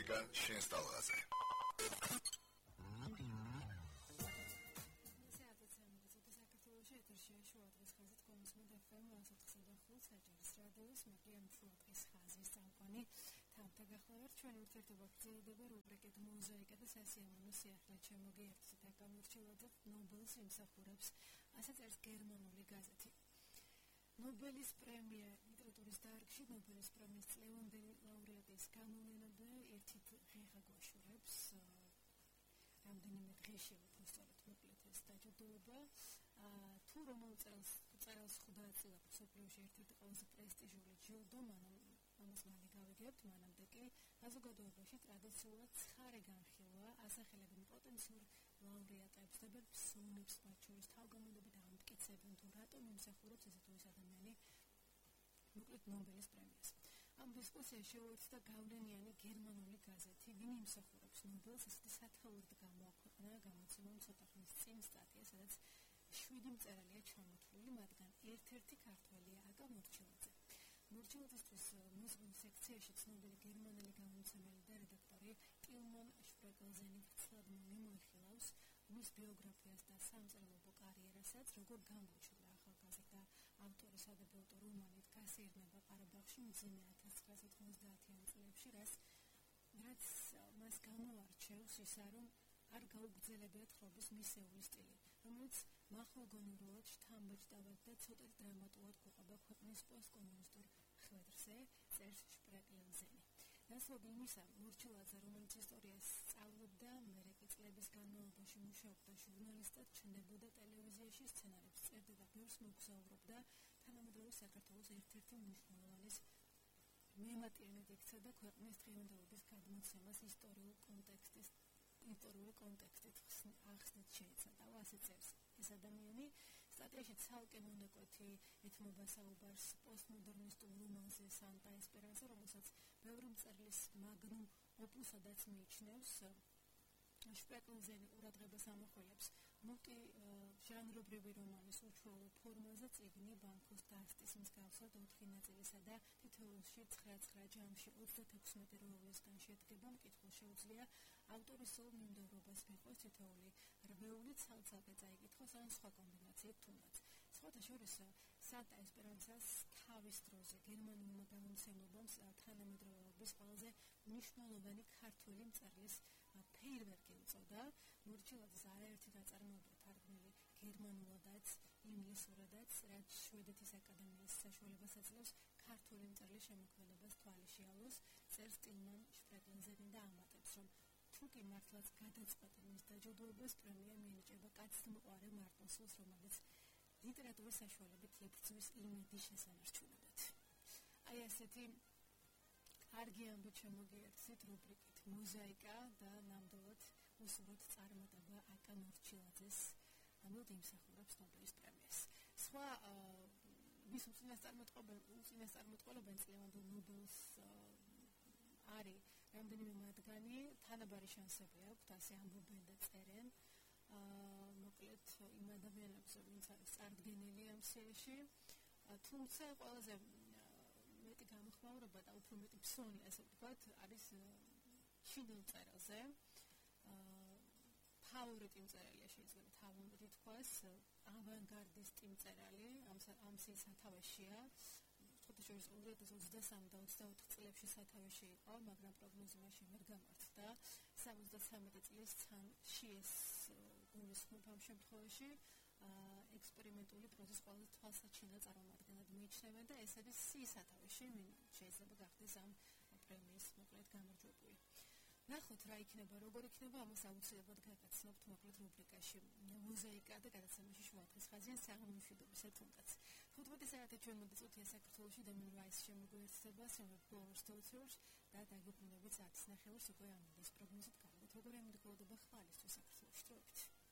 მუსიკა შენს ტალღაზე. ჩვენ ურთიერთობა გრძელდება რუბრიკით მოზაიკა და სასიამოვნო სიახლე შემოგიერთეთ და გამორჩილოთ ნობელის იმსახურებს, ასე წერს გერმანული გაზეთი. ნობელის პრემია ლიტერატურის დარგში ნობელის პრემიის წლევანდელი ლაურეატის გამოვლენა ერთი დღეღა გვაშურებს. რამდენიმე დღეში უბრალოდ მოკლედ ეს დაჯილდოება. თუ რომელ წელს ხვდა წილა მსოფლიოში ერთ-ერთი ყველაზე პრესტიჟული ჯილდო, ამას მალე გავიგებთ, მანამდე კი საზოგადოებაში ტრადიციულად ცხარე განხილვა ასახელებენ პოტენციურ ლაურეატებს და პერსონებს, მათ შორის თავგამოდებით ამტკიცებენ თუ რატომ იმსახურებს ესე თუ ის ადამიანი მოკლედ ნობელის პრემიას. ამ დისკუსიაში შეუერთდა გავლენიანი გერმანული გაზეთი, ვინ იმსახურებს ნობელს, ესეთი სათაურად გამოაქვეყნა გამოცემამ ცოტა ხნის წინ სტატია, სადაც 7 მწერალია ჩამოთვლილი, მათგან ერთ-ერთი ქართველია აკა მორჩილაძე. მორჩილაძისთვის მუსიკის სექციაში ცნობილი გერმანელი გამომცემელი და რედაქტორი ტილმან შპრეკელზენი ვრცლად მიმოიხილავს მის ბიოგრაფიას და სამწერლობო კარიერასაც, როგორ გამოჩნდა ახალგაზრდა ავტორის სადებიუტო რომანით გასეირნება ყარაბაღში მძიმე 1990-იან წლებში, რაც მას გამოარჩევს ისა, რომ არ გაუგრძელებია თხრობის მისეული სტილი, რომელიც მახვილგონურულად, შთამბეჭდავად და ცოტა დრამატულად გვყვება ქვეყნის პოსტკომუნისტურ ხვედრზე, წერს შპრეკელზენი. ნაცვლად იმისა, მორჩილაძე, რომელიც ისტორიას სწავლობდა, მერეკი წლების განმავლობაში მუშაობდა ჟურნალისტად, ჩნდებოდა ტელევიზიაში, სცენარებს წერდა და ბევრს მოგზაურობდა, თანამედროვე საქართველოს ერთ-ერთი მნიშვნელოვანის მემატიანედ იქცა და ქვეყნის დღევანდელობის გადმოცემას ისტორიული კონტექსტით ახსნით შეეცადა. ასე წერს ეს ადამიანი. სტატიაში ცალკე მონაკვეთი ეთმობა საუბარს პოსტმოდერნისტულ რომანზე სანტა ესპერანსა, რომელსაც ბევრი მწერლის მაგნუმ ოპუსადაც მიიჩნევს. შპრეკელზენი ყურადღებას ამახვილებს მულტი ჟანრობრივი რომანის უჩვეულო ფორმაზე წიგნი ბანკოს დასტის მსგავსად 4 ნაწილისა და თითოეულში 9 ჯამში 36 როლისგან შედგება. მკითხველს შეუძლია ავტორის სულ მიმდევრობას მიყვეს, თითოეული რვეული ცალ-ცალკე წაიკითხოს ან სხვა კომბინაციით თუნდაც. სხვათა შორის სანტა ესპერანსას თავის დროზე გერმანულმა გამომცემლობამ თანამედროვეობის ყველაზე მნიშვნელოვანი ქართველი მწერლის ფეირვერკი უწოდა. მორჩილაძის არაერთი ნაწარმოება თარგმნილი გერმანულადაც, ინგლისურადაც, რაც შვედეთის აკადემიის საშუალებას აძლევს ქართული მწერლის შემოქმედებას თვალიშიალოს, წერს ტილმან შპრეკელზენი და ამატებს, რომ თუ კი მართლაც გადაწყვეტენ მის დაჯილდოებას, პრემია მიენიჭება კაცთმოყვარე მარტინსულს, რომელიც ლიტერატურის საშუალებით იბრძვის იმედის შესანარჩუნებლად. აი ესეთი კარგი ამბით შემოგიერთეთ რუბრიკით მოზაიკა და ნამდვილად უსურვოთ წარმატება აკა მორჩილაძეს, იმსახურებს ნობელის პრემიას. სხვა მის უწინასწარმეტყველებენ წლევანდელ ნობელს არის რამდენიმე მათგანი, თანაბარი შანსები აქვთ, ასე ამბობენ და წერენ. მოკლედ იმ ადამიანებზე, ვინც არის წარდგენილი ამ სიაში, თუმცა ყველაზე მეტი გამოხმაურება და უფრო მეტი ფსონი, ასე ვთქვათ, არის ჩინელ მწერალზე. ფავორიტი მწერალია, შეიძლება თავად ითქვას, ავანგარდისტი მწერალი, ამ სიის სათავეშია. შორის 2023 და 24 წლებში სათავეში იყო, მაგრამ პროგნოზი მაშინ ვერ გამართდა. 73 წლის შეეს გულისხმობ ამ შემთხვევაში ექსპერიმენტული პროზის ყველაზე თვალსაჩინო წარმომადგენლად მიიჩნევენ და ეს არის სიის სათავეში, შეიძლება გახდეს ამ პრემიის მოკლედ გამარჯვებული. ნახოთ რა იქნება, როგორ იქნება, ამას აუცილებლად გაგაცნობთ მოკლედ რუბრიკაში მოზაიკა და გადაცემაში შუადღის ხაზიან საღამომშვიდობისა თუნდაც. 15 საათი ჩვენ მოდიწვია საქართველოში და მირვაის შემოგვიერთდება Silver Stories და დაგუბრუნდებით 10:30 უკვე ამბის პროგნოზით გავიგეთ, როგორ ემდგროვდება ხმალისთვის საქართველოში.